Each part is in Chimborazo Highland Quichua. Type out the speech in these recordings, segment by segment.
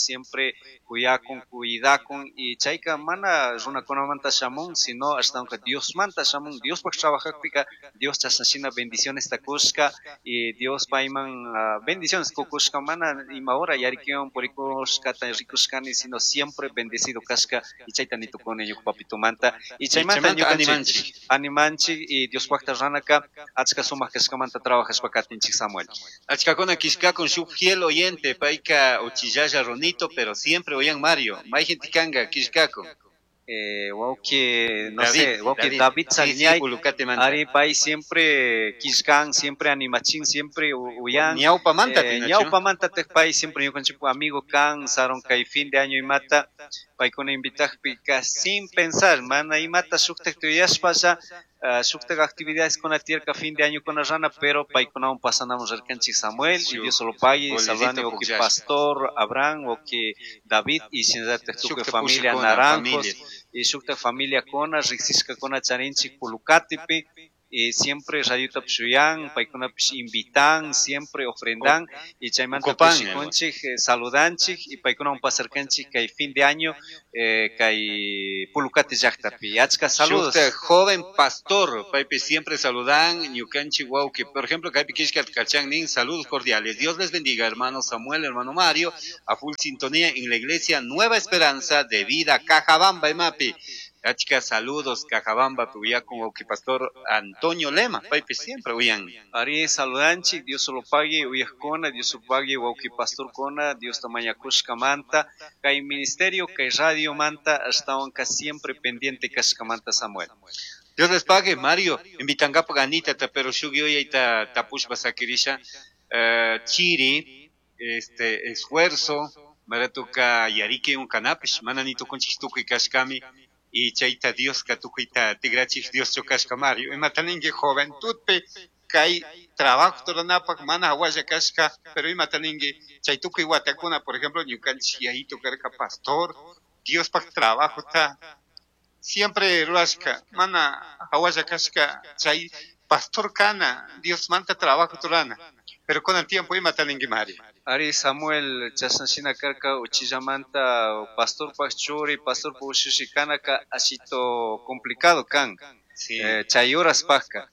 Siempre kuyakun, cuidakun y chayka mana runakunamanta shamun, sino ashtawanka Diosmanta shamun. Diospaj trabajajpika Dios chashnashina bendicionesta kushka y Dios payman bendiciones kukushka, mana ima hora yarikiwan purikushkata rikushkani, sino siempre bendecido kashka y chayta nitukuni ñuka papitumanta. Y chaymanta ñukanchik animanchik y Diospajta ranaka achka sumak kashkamanta trabajashpa katinchik, Samuel. Achkakuna kishkakun shuk fiel oyente, payka uchillalla runito, pero siempre oyan Mario. Mayjinti kanga kishkakun. Wawki, no sé, wawki David Sagñay, ari pay siempre kishkan, siempre animachin, siempre uyan. Ñawpamanta. Ñawpamanta pay siempre ñukanchik amigo kan, saron kay fin de año imata, paykuna invitakpika sin pensar, mana imata shuktak tuyashpalla, shuktak actividades kuna tiyarka fin de año kuna rana, pero paykunawan pasanamos rirkanchik, Samuel, y Dios lo pague, saludani wawki pastor Abraham, wawki David, y shinallatak tukuy familia Naranjos, y shuktak familia kuna, riksishkakuna charinchik Pulucatipi, y siempre radiota shuyan, paykunapish invitan, siempre ofrendan, y chaymanta kushikunchik, saludanchik, y paykunawan pasarkanchik kay fin de año, kay Pulucati llaktapi. Achka saludos. Shukta joven pastor, paypi siempre saludan, ñukanchik wawki, por ejemplo, kaypi kishka kachan nin, saludos cordiales. Dios les bendiga, hermano Samuel, hermano Mario, a full sintonía en la iglesia Nueva Esperanza de Vida, Cajabamba, Emapi. Achka saludos, Cajabamba, con wawki pastor Antonio Lema, paypi siempre uyan. Ari saludanchik, Dios lo pague, uyajkuna, Dios lo pague, wawki pastor kona, Dios tamañakushka manta, kay ministerio, kay radio manta, ashtawanka siempre pendiente kashkamanta, Samuel. Dios les pague, Mario, invitangapa ganita, pero shuk yuyayta tapushpa sakirisha, chiri, esfuerzo, maratuka yarike un kanapish, mana ni tukunchik tukuy kashkami, y chayta Dioska tukuyta tigrachik Dios kashka, Mario. Imata ninki juventudpi kay trabajo ruranapak mana hawalla kashka, pero imata ninki chay tukuy watakuna, por ejemplo, ñukanchik yayito karka pastor, Diospaj trabajota siempre rurashka, mana hawalla kashka chay pastor kana, Diosmanta trabajo rurana. Pero con el tiempo imata ninki, Mario. Ari Samuel, chashnashina karka uchillamanta pastorpaj churi, pastorpaj ushushi kanaka ashito complicado kan. Chay horaspajka.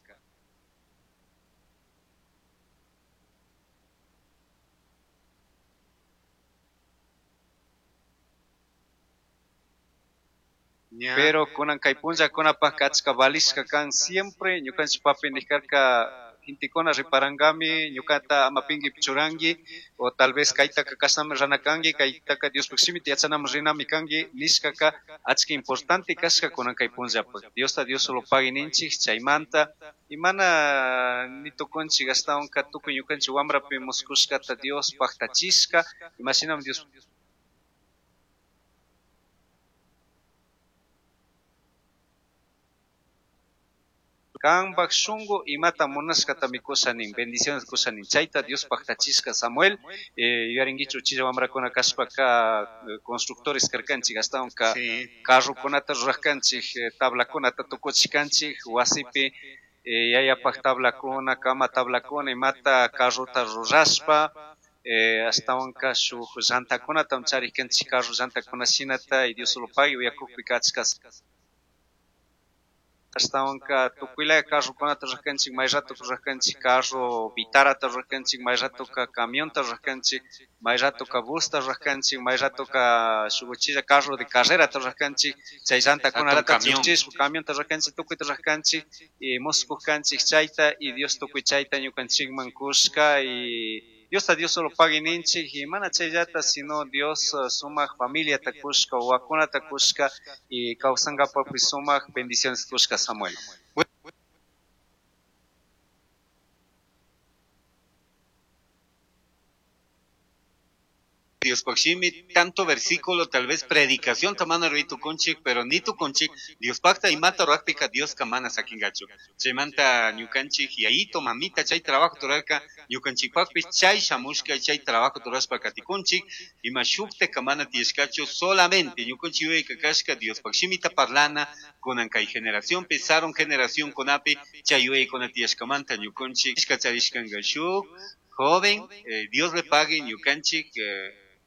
Pero kunan kay punllakunapajka achka valishka kan siempre ñukanchik papi nijarka gentekuna riparangami ñukata ama pinkipi churanki o tal vez kaytaka kashnami rana kanki, kaytaka Diospaj shimita yachanaman rinami kanki nishkaka achka importante kashka kunan kay punllapaj. Diosta Dios solo pagui ninchik chaymanta y mana ni tukunchik ashtawanka tukuy ñukanchik wambrapi muskushkata Dios paktachishka, imashinami Dios kanpak shunku imata munashkatami kusha nin, bendiciones kusha nin, chayta Dios paktachishka, Samuel. Yuyarinkichu uchilla wambrakuna kashpaka constructores karkanchik, ashtawanka carrokunata rurajkanchik, tablakunata tukuchishkanchik wasipi, yayapak tablakuna, kama tablakuna, imata carrota rurashpa, ashtawanka shuk llantakunata charishkanchik, carro llantakuna shinata, y Dios solo pague uyakukpika achka ashtawanka tukuylaya carrokunata rurajkanchik, may rato rurajkanchik carro vitarata rurajkanchik, may ratoka camionta rurajkanchik, may ratoka busta rurajkanchik, may ratoka shuk uchilla carro de carrerata rurajkanchik, chay llantakunata chukchishpa camionta rurajkanchik, tukuyta rurajkanchik y muskukanchik chayta, y Dios tukuy chayta ñukanchikman kushka, y Diosta Dios solo pague ninchik, y mana chayllata, sino Dios sumak familiata kushka, wawakunata kushka, y kawsankapakpi sumak bendiciones kushka, Samuel. Diospaj shimi, tanto versículo, tal vez predicación tamana rui tukunchik, pero ni tukunchik, Diospajta imata rurakpika Dioska mana sakingachu. Chaymanta ñukanchik yayito, mamita, chay trabajo turarka, ñukanchikpakpish chay shamushka, chay trabajo turashpa katikunchik, ima shukta mana tiyashkachu, solamente ñukanchik yuyayka kashka Diospaj shimita parlana, kunan kay generación, sarun generación kunapi, chay yuyaykuna tiyashkamanta ñukanchik charishkanka shuk joven, Dios le pague ñukanchik.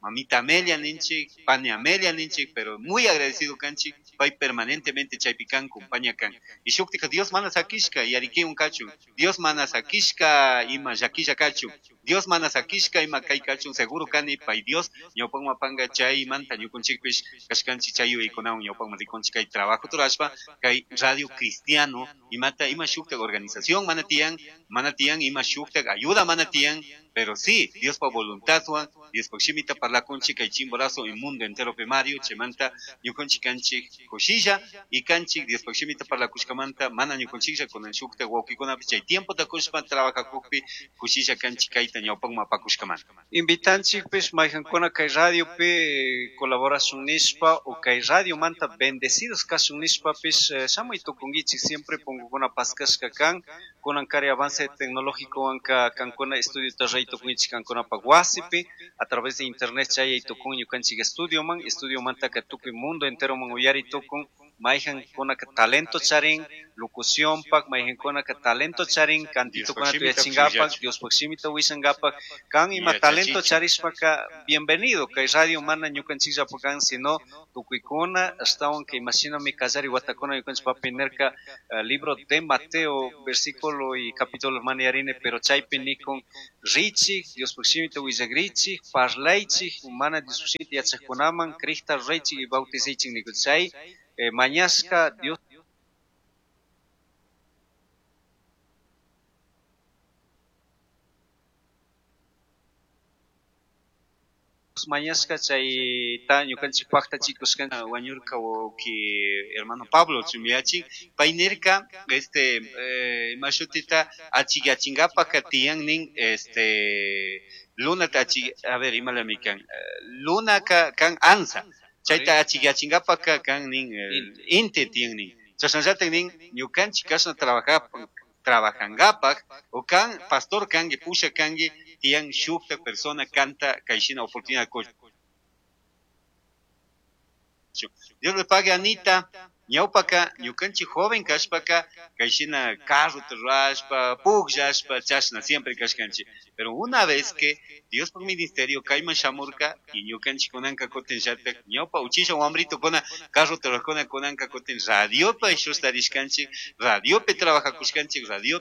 Mamita Amelia ninchik, pani Amelia ninchik, pero muy agradecido kanchik, pay permanentemente chaypi kan, compañía kan. Y shuktika Dios mana sakishka, yarikiwan kachun, Dios mana sakishka, ima llaquilla kachun, Dios mana sakishka, ima kay kachun, seguro kani, pay Dios, ñawpakman panga chaymanta ñukunchikpish, kashkanchik chay yuyaykunawan ñawpakman rikunchik kay trabajo turashpa, kay radio cristiano, imata, ima shuktak organización mana tiyan, mana tiyan, ima shuktak ayuda mana tiyan, pero sí, Dios pa voluntadwan, Dios pa shimita parlakunchik kay Chimborazo y mundo entero pe Mario, chaymanta ñukunchik kanchik kushilla y kanchik Dios pa shimita parlakushkamanta mana ñukunchiklla kunan shuktak wawkikunapish chay tiempota kushpa trabajakukpi kushilla kanchik kayta ñawpakman apakushkamanta. Invitanchikpish mayqankuna kay radiopi colaboración nishpa o kay radiomanta bendecidos kashun nishpapish, shamuy tukunkichik siempre punkukuna paskashka kan, kunan kari avance tecnológico wanka kankuna estudiota ruray tukunkichik kankunapak wasipi a través de internet chayay tukun ñukanchik estudioman, estudiomantaka tukuy mundo enteroman uyari tukun, mayqankunaka talento charin locuciónpak, mayqankunaka talento charin cantitokunata uyachinkapak, Diospaj shimita willankapak, kan ima talento charishpaka bienvenido, kay radio mana ñukanchikllapak kan, sino tukuykuna, ashtawan kay imashinami kallari watakuna ñukanchik papi nirka, libro de Mateo, versículo y capítulo mana yarine, pero chaypi nikun richik, Diospaj shimita willakrichik, parlaychik, mana Diospaj shimita yachakkunaman, Crista ruraychik y bautizaychik nikun chay, mañashka Dios mañashka chayta ñukanchik pajtachikushkan. Wañurka wawki hermano Pablo Chumiachi, pay nirka, imashutita achikyachinkapaka tiyan nin, este, lunata achik, a ver, imalami kan, lunaka kan ansa, chayta achikyachinkapak kan nin, inti tiyan nin, chashnallatak nin, ñukanchik kashna trabajankapak, o kan pastor kanki, pusha kanki, tiyan shukta persona kanta kayshina oportunidad kuchun. Dios le pague Anita, ñawpaka ñukanchik joven kashpaka kayshina carrota rurashpa, pukllashpa, chashna siempre kashkanchik. Pero una vez que Dios por ministerio kayman shamurka y ñukanchik kunanka kutin llatak ñawpa uchilla wambrito kuna carrota rurajkuna kunanka kutin radiopa ishustarishkanchik, radiopi trabajakushkanchik, radio